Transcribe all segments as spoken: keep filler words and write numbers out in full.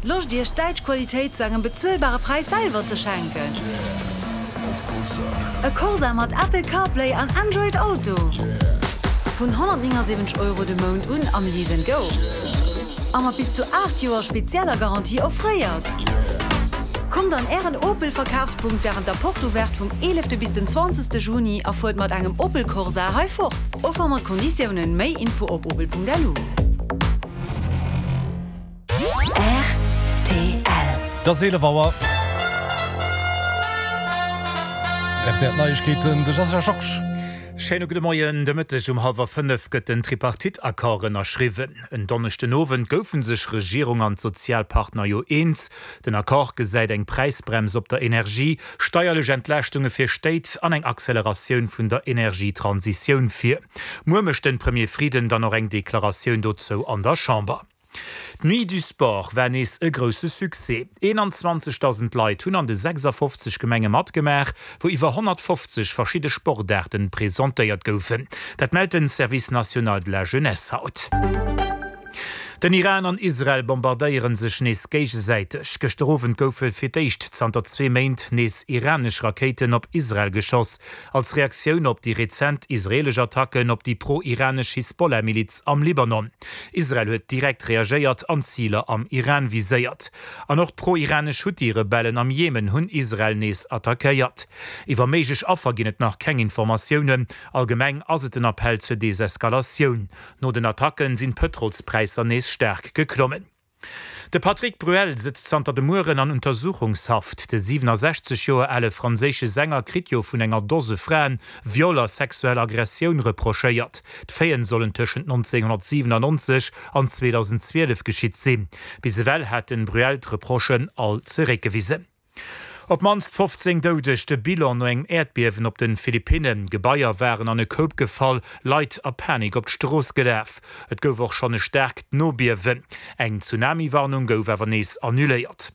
Loscht Iech däitsch Qualitéit zu engem bezuelbare Präis selwer ze schenken? E Corsa mat Apple CarPlay an Android Auto? Vun honnertnéngasiwwenzeg Euro de Mount un am Lease and Go. A mat bis zu aacht Joer spezieller Garantie offréiert. Kommt an Ären Opel Verkafspunkt wärend der Porte Ouverte vum eelefte bis den zwanzegste Juni a fuert mat engem Opel Corsa hei fort. Offer mat Konditiounen. Méi Info op opel.lu. Rtl. Et ass eelef Auer. Rtl Neiegkeeten, de Jean Georges. Schéine gudde Moien. De Mëtteg um hallwer fënnef gëtt den Tripartite-Accord ënnerschriwwen. En Donneschden Owend goufe sech Regierung an d'Sozialpartner jo eens. Den Accord gesäit eng Präisbrems op der Energie, steierlech Entlaaschtunge fir Stéit an eng Acceleratioun vun der Energietransitioun vir. Muer mécht de Premier Frieden dann och eng Deklaratioun dozou an der Chamber. D'Nuit du Sport war nees e grousse Succès. einundzwanzigtausend Leit hunn an de sechsafofzeg Gemenge matgemaach, wou iwwer honnertfofzeg verschidde Sportaarten presentéiert goufen. Dat mellt den Service national de la jeunesse haut. Den Iran an Israel bombardéiere sech nees géigesäiteg. Gëschter Owend goufe fir d'éischt zanter zwee Méint nees iranesch Rakéiten op Israel geschoss, als Reaktioun op déi rezent israeelesch Attacken op déi pro-iranesch Hisbollah-Miliz am Libanon. Israel huet direkt reagéiert an Ziler am Iran viséiert. An och d'pro-iranesch Huthi-Rebellen am Jemen hunn Israel nees attackéiert. Iwwer méiglech Affer ginn et nach keng Informatiounen. Allgemeng ass et en Appell zur Deseskalatioun. No den Attacken sinn d'Pëtrolspräisser nees staark geklommen. De Patrick Bruel sëtzt zanter de Mueren an Untersuchungshaft. De siwenasechzeg Joer ale franséische Sänger kritt jo vun enger Dose Fraen Viol a sexuell Aggressioun reprochéiert. D'Faiten sollen tëschent nonzénghonnertsiwenannonzeg an zweedausendzwielef geschitt sinn. Bis ewell hat den Bruel d'Reprochen all zeréckgewisen. Op d'mannst fofzéng Doudeg, de Bilan no engem Äerdbiewen op de Philippinnen. Gebaier waren an e Koup gefall, Leit a Panik op d'Strooss gelaf. Et gouf och schonn e staarkt Nobiewen. Eng Tsunami-Warnung gouf awer nees annuléiert.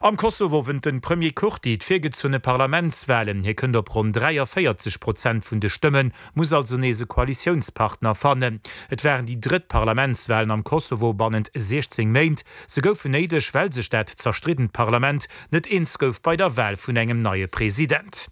Am Kosovo wënnt de Premier Kurti d'virgezunne Parlamentswalen. Hie kënnt op ronn dräiavéierzeg Prozent vun de Stëmmen, muss also nees e Koalitiounspartner fannen. Et waren déi drëtt Parlamentswalen am Kosovo bannent siechzéng Méint. Se goufen néideg, well sech dat zerstriddent Parlament net eens gouf bei der Wal vun engem neie President.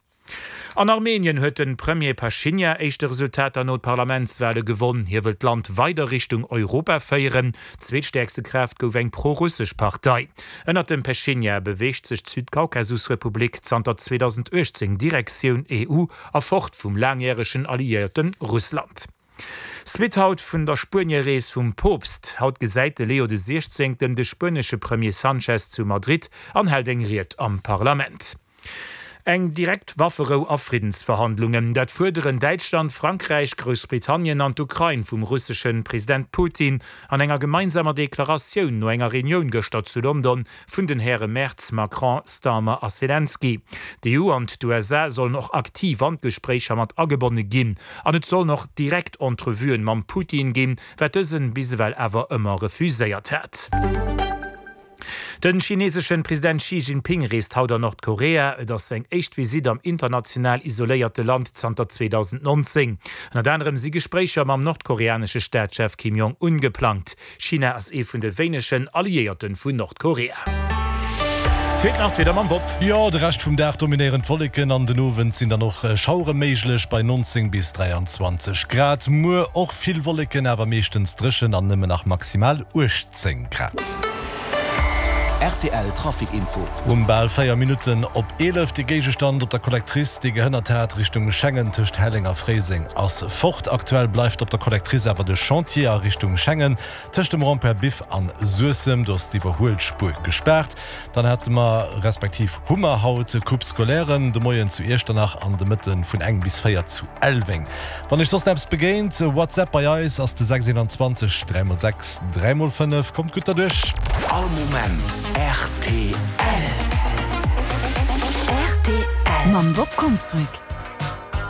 An Armenien huet de Premier Pashinyan éischte Resultater no d'Parlamentswale gewonn. Hie wëll d'Land weider Richtung Europa féieren. Zweetstäerkste Kraaft gouf eng pro-russesch Partei. Ënnert dem Pashinyan beweegt sech d'Südkaukasusrepublik zanter zweedausenduechtzéng Direktioun E U a fort vum laangjäregen Alliéierte Russland. Suite haut vun der Spuenie-Rees vum Poopst. Haut gesäit de Leo de Siechzéngten de spuenesche Premier Sanchez zu Madrid an hält eng Ried am Parlament. Eng direkt Wafferou a Friddensverhandlungen, dat fuerderen Däitschland, Frankräich, Groussbritannien an d'Ukrain vum russesche President Putin an enger gemeinsamer Deklaratioun no enger Reunioun gëschter zu London vun den Häre Merz, Macron, Starmer a Selenskyj. D'E U an d'U S A sollen och aktiv an d'Gespréicher mat agebonne ginn an et sollen och direkt Entrevuen mam Putin ginn, wat dësen bis ewell awer ëmmer refuséiert hat. Den chineseschen President Xi Jinping reest haut an Nordkorea. Et ass seng éischt Visitt am international isoléierte Land zanter zweedausendnonzéng. Ënnert anerem si Gespréicher mam nordkoreanesche Staatschef Kim Jong-un geplangt. China ass ee vun de wéinegen Alliéierte vun Nordkorea. Feelt nach d'Wieder mam Bob. Jo, de Rescht vum Dag dominéieren d'Wolleken an den Owend sinn dann och Schauere méiglech bei neunzéng bis dräianzwanzeg Grad. Muer och vill Wolleken, awer meeschtens dréchen an nëmmen nach maximal uechtzéng Grad. Rtl Trafic Info. Um bal véier Minutten op eelef, de Géigestand op der Collectrice, dee gehënnert hat Richtung Schengen tëscht Helleng a Fréiseng, ass fort. Aktuell bleift op der Collectrice awer de Chantier a Richtung Schengen tëscht dem Rond-point Biff an Suessem, do ass d'Iwwerhuelspuer gespaart. Dann hate mer, respektiv hu mer haut Coupe scolaire, de Moien zu Iechternach an de Mëtte vun eng bis véier zu Elweng. Wann iech soss eppes begéint, WhatsApp bei eis ass de sechs einundzwanzeg dräi mol sechs dräi mol fënnef. Kommt gutt derduerch! All Moment rtl. Rtl. Mam Bob Konsbrück.